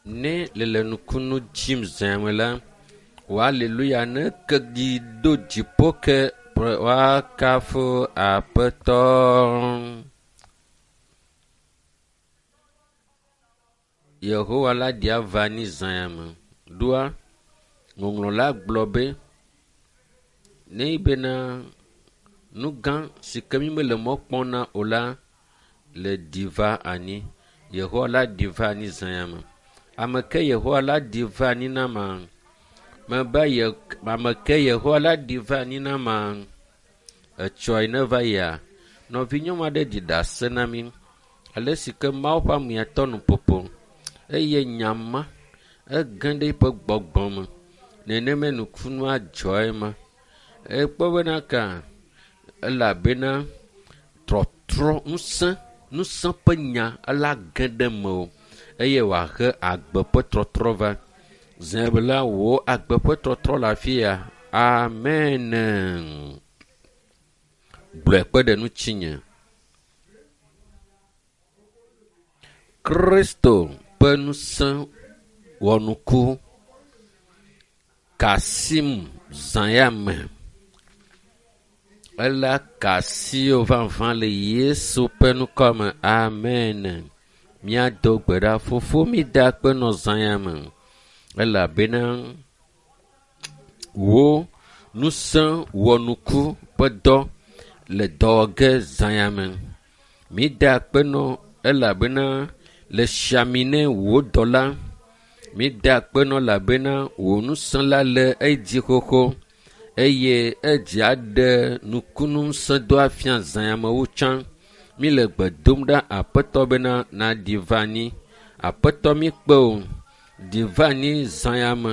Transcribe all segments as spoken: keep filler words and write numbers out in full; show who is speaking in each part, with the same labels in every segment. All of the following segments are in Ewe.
Speaker 1: Ne le le nukunu dzim zãme la, wò aleluya ne ke ɖi do dziƒo ke woakafu Aƒetɔ. Yehowa la ɖi ava anyi zã me. Ɖoa ŋɔŋlɔ la gblɔ be ne bena nu gã si ke mi mele mɔ kpɔm na o la le ɖi va anyi. Yehowa la ɖi va anyi zã me. Ame ke Yehowa la ɖi va anyi na ma. Mebe ye ame ke Yehowa la ɖi va anyi na ma. Etsɔe ne va yia, nɔvinyɔnu aɖe ɖi ɖase na mi ale si ke Mawu ƒe amea tɔ nuƒoƒo eye nyama ege ɖe eƒe gbɔgbɔ me. Nenema nukunua dzɔ ema. Ekpɔ bena ka elabena trɔtrɔ ŋusẽ ŋusẽ ƒe nya ela ge ɖe mewò eye wòahe agbe ƒe trɔtrɔ va. Zã la wò agbe ƒe trɔtrɔ le afi ya. Amen. Gblɔe kpe ɖe ŋutinye. Kristo ƒe ŋusẽ wɔnuku ka asim zã ya me. Ela ka asiwò vavã le Yesu ƒe ŋkɔ me. Amen. Míado gbe ɖa. Fofo mi da akpe nɔ zã ya me elabena wò ŋusẽ wɔnuku ƒe dɔ le dɔ wɔ ge zã ya me. Mi da akpe nɔ elabena le si ami ne wò dɔla. Mi da akpe nɔ elabena wò ŋusẽ la le edzi xoxo eye edzi aɖe nukunu ŋusẽ do afia zã ya me wu tsã. Mi le gbe dom ɖa Aƒetɔ bena naɖi va anyi. Aƒetɔ mi kpe wò. Ɖi va anyi zã ya me.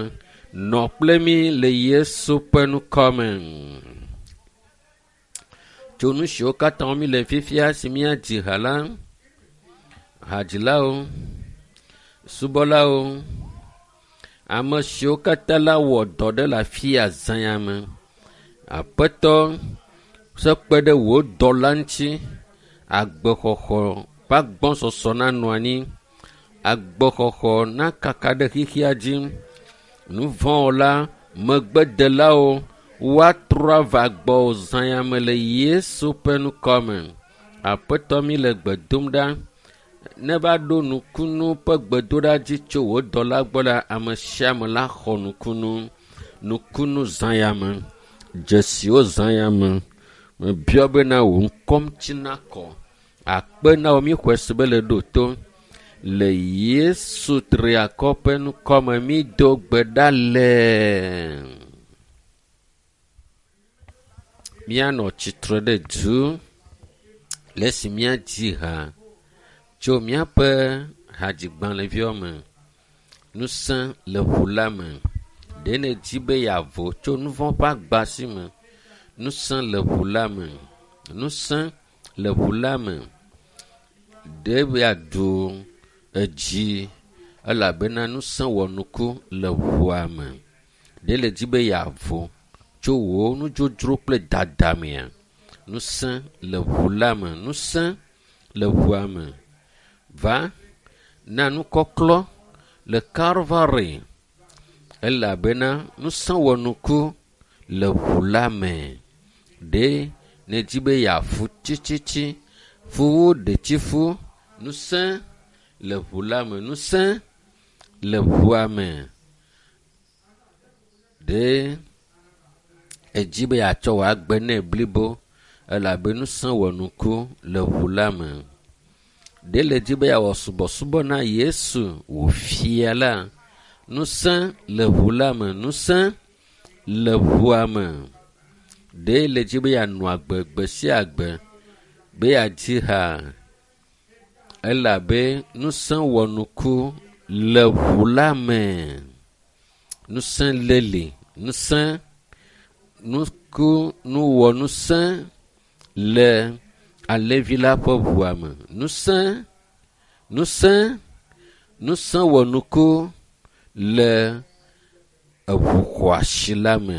Speaker 1: Nɔ kple mi le Yesu ƒe ŋkɔ me. Tso nu siwo katã mi le fifia si míadzi ha la, hadzilawo, subɔlawo, ame siwo katã la wɔ dɔ ɖe le afi ya zã ya me. Aƒetɔ se kpe ɖe wò dɔla ŋuti. Agbexɔxɔ ƒe agbɔsɔsɔ nanɔ anyi. Agbexɔxɔ nakaka ɖe xexea dzi. Nu vɔ̃wɔla, megbedelawo woatrɔ ava gbɔwò zã ya me le Yesu ƒe ŋkɔ me. Aƒetɔ mi le gbe dom ɖa. Ne va ɖo nukunu ƒe gbedoɖa dzi tso wò dɔla gbɔ la, ame sia ame la xɔ nukunu. Nukunu zã ya me. Dzesiwo zã ya me. Mebiɔ bena wò ŋkɔ ŋuti nakɔ. Akpe na wò míxɔe se be le ɖo to. Le Yesu triakɔ ƒe ŋkɔ me mído gbe ɖa le. Míanɔ tsitre ɖe du le esi míadzi ha tso míaƒe hadzigbalẽviawo me. Ŋusẽ le ʋu la me. Ɖe nèdi be yeavo tso nu vɔ̃ ƒe agba si me. Ŋusẽ le ʋu la me. Ŋusẽ le ʋu la me. Ɖe yeaɖu edzi elabena ŋusẽ wɔnuku le ʋua me. Ɖe nèdi be yeavo tso wò nudzodzro kple dada mea? Ŋusẽ le ʋu la me. Ŋusẽ le ʋua me. Va na nukɔklɔ le Kalvari elabena ŋusẽ wɔnuku le ʋu la me. Ɖe nèdi be yeafu tsitsitsi, fuwu ɖetifu, ŋusẽ le ʋu la me. Ŋusẽ le ʋua me. Ɖe edzi be yeatsɔ wò agbe nɛ blibo elabe ŋusẽ wɔnuku le ʋu la me. Ɖe le dzi be yeawɔ subɔsubɔ na Yesu wò fia la. Ŋusẽ le ʋu la me. Ŋusẽ le ʋua me. Ɖe le dzi be yeanɔ agbe gbe sia gbe be yeadzi ha elabe ŋusẽ wɔnuku le ʋu la me. Ŋusẽ le li. Ŋusẽ nuku nuwɔŋusẽ le alẽvi la ƒe ʋua me. Ŋusẽ, ŋusẽ, ŋusẽ wɔnuku le eʋu xɔasi la me.